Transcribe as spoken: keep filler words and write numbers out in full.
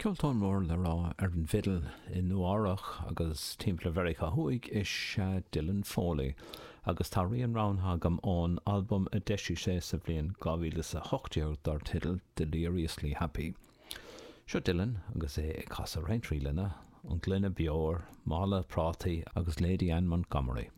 Ceoltóir mór le rá ar an bhfidil i Nua-Eabhrac agus timpeall Mheiriceá Thuaidh is ea Dylan Foley, agus tá rian roghnaithe agam ón albam a d'eisigh sé sa bhliain dhá mhíle is a hocht déag dar teideal Deliriously Happy. Seo Dylan agus é ag casadh roinnt ríleanna, an Gloine Beoir, Mála Prátaí agus Lady Anne Montgomery.